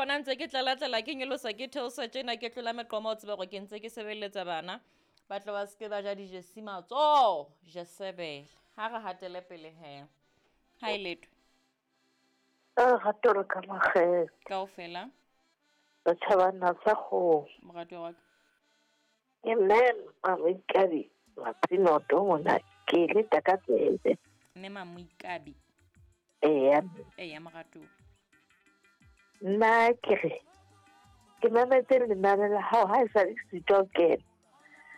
mpona ntse ke tlalatlela ke nyolosa ke theosa tjena ke tlola meqoma o tsebe gore ke ntse ke sebeletsa bana ba tle ba seke ba ja dijesi matsoho jesebele. Ha re hatele pele he. Ha e letwe. Lerato le ka makgethe. Kaofela. Setjhabana sa kgomo. Moratuwa wa ka. Ke mme Mamoikabi Matsinoto mona ke leta ka tsebe. Mme Mamoikabi. Eya. Eya moratuwa. Nna ke re ke mametse lenane la hao ha e sa le sitwa ho kena.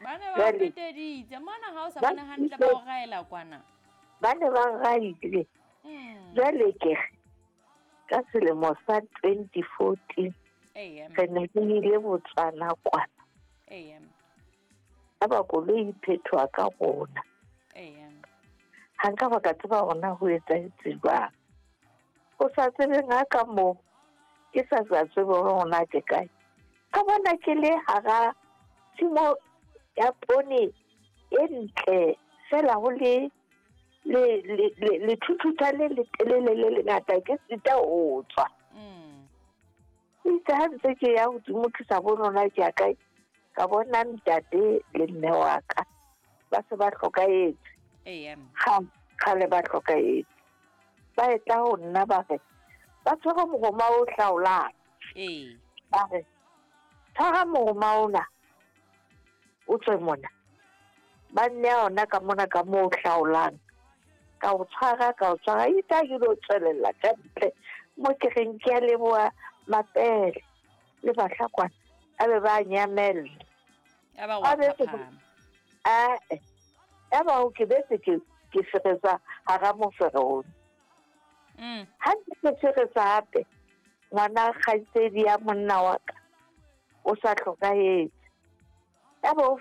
Ba ne ba peteditse mona ha o sa bone hantle ba o raela kwana. Ba ne ba raile. Jwale ke re ka selemo sa 2014 re ne re ile Botswana kwana. Yaba koloi e phethoha ka rona. Ha nka ba ka tseba hore na ho etsahetse jwang. O sa tsebeng ha ka moo ke sa sa tsebe hore na ke kae. Ka bona ke le hara tshimo ya poone e ntle fela ho le le thuthuta le letelele le lengata ke sita ho tswa. Itse ha ntse ke ya hodimo ke sa bone hore na ke ya kae, ka bona ntate le mme wa ka ba se ba hlokahetse. Kgale ba hlokahetse. Ba etla ho nna ba re ba tshwere mohoma o hlaolang. Ba re tshwara mohoma ona o tswe mona. Ba nneha ona ka mona ka moo o hlaolang. Ka o tshwara ka o tshwara itse ha ke lo tswelella ka ntle mo ke reng ke a leboha Mapele le Bahlakwana a be ba nyamella. Aba o ke betse ke feretsa hara mofereone. Ha ke feretsa hape ngwana kgaitsedi ya monna wa ka o sa hlokahetse. Yaba o